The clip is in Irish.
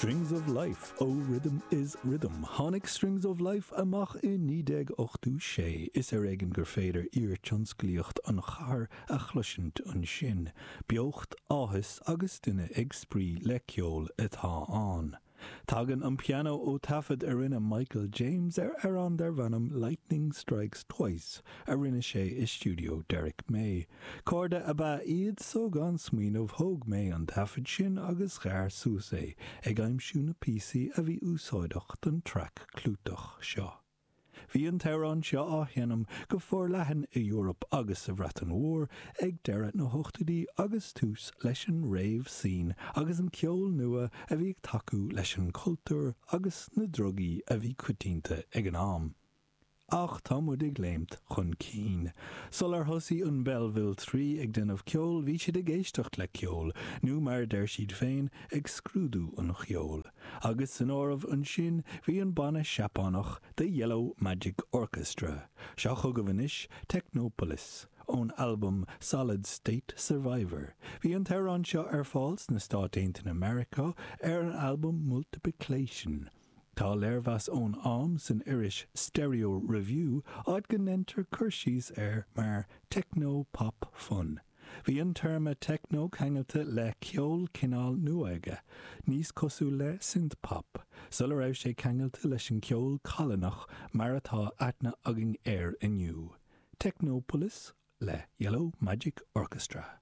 Strings of Life ó Rhythm is Rhythm. Tháinig Strings of Life amach i 1986. Is ar éigean gur féidir iartionsclaíocht an chathair a chloisint ansin. Beocht, áthas agus duine ag spraoi le ceol atá ann. Tagann an pianó ó taifead a rinne Michael James ar amhrán darb ainm Lightning Strikes Twice a rinne sé i stiúideo Derrick May. Cairde ab ea iad so gan smaoineamh thóg May an taifead sin agus ghearr suas é, ag aimsiú na píosaí a bhí úsáideach don traic clúiteach seo. Bhí an t-amhrán seo á sheinm go forleathan i Eoraip agus sa Bhreatain Mhór ag deireadh na hochtóidí agus tús leis an rave scene agus an ceol nua a bhí ag tacú leis an cultúr agus na drugaí a bhí coitianta ag an am. Ach tá muid ag léimt chun cinn. Sular thosaigh an Belleville 3 ag déanamh ceoil bhí siad ag éisteacht le ceol, nó mar a deir siad féin, ag scrúdú an cheoil. Agus san áireamh ansin bhí an banna Seapánach The Yellow Magic Orchestra. Seo chugaibh anois Technopolis ón albam Solid State Survivor. Bhí an t-amhrán seo ar fáil sna Stáit Aontaithe Meiriceá ar an albam Multiplication. Tá léirmheas ón am san iris Stereo Review áit go ndeintear cur síos air mar techno pop fun. Bhí an téarma techno ceangailte le ceol cineál nuóige, níos cosúil le synth-pop, sula raibh sé ceangailte leis an ceol callánach mar atá aithne againn air inniu. Technopolis le Yellow Magic Orchestra.